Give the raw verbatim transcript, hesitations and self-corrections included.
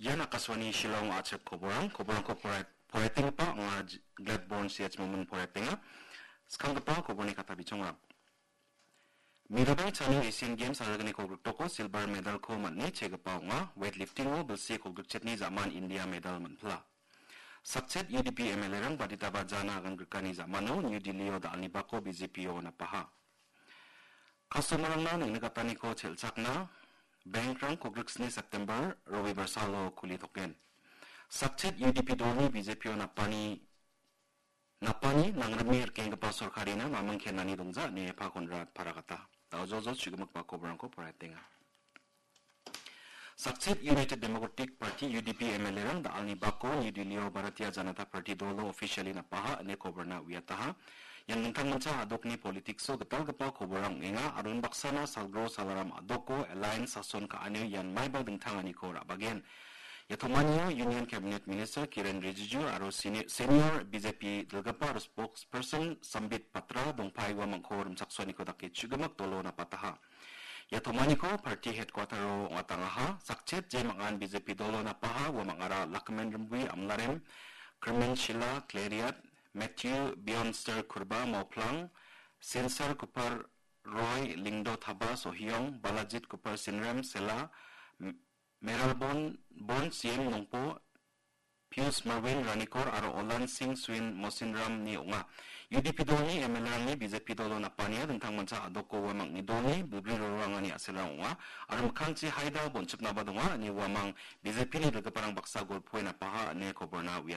Ian Akashvani Shillong a·chik koborang, koborangko porai-, poraitenggipa ong·a J-, Gladborn C H Momin poraitenga. Skanggipa koborni kata bichongrang. Mirabai Chanu Asian Games arigniko griktoko silver medalko man·e chegipa ong·a. Weightliftingo bilsi kolgrikchetni ja·man India medal man·pila. Sakchet U D P M L A-rang baditaba jana agan grikani ja·mano New Delhi-o da·alnibako B J P-o napaha. Customer-rangna neng·nikataniko chel·chakna bank-rang kolgriksni September Robibar salo kuli token. Sakchet U D P dolni B J P-o napani, napani nangrime rikenggipa sorkarina maming kenani dongja ine Pa Konrad paragata. Daojojo chigimikba koborangko poraitenga. Sakchet United Democratic Party, U D P, M L A-rang da·alni bako New Delhi-o Bharatiya Janata Party dolo officially napaha ine koborna uiataha. Ian dingtangmancha a·dokni politics-o gitalgipa koborrang ong·enga aro unbaksana Salgro Salaram a·doko Alliance sason ka·anio ian maiba dingtanganiko ra·bagen. Ia tomanio Union Cabinet Minister Kiren Rijiju aro seni-, senior B J P dilgipa aro spokesperson Sambit Patra dongpae uamangko rimchaksoaniko dake chigimik dolo napataha. Ia tomaniko party headquarter-o ong·atangaha. Sakchet je mangan B J P dolo napaha uamangara Lakmen Rimbui Amlarem, Krimen Shila Kleriat, Matthew Bionster Kurba Mauplang, Sensar Kupar Roy Lingdo Taba Sohiong, Balajit Kupar Sinrem Sela, M-, Meralbon Bon C M Nongpo, Pius Marwin Ranikor aro Olan Singh Swin Mosinramni ong·a. U D P dolni M L A-rangni B J P dolo napania dingtangmancha a·doko uamangni dolni bilbri rororangani a·selrang ong·a. Aro mikkangchi haida bonchipnaba donga, ine uamang B J P-ni dilgiparang baksa golpoe napaha ine koborna uiat-,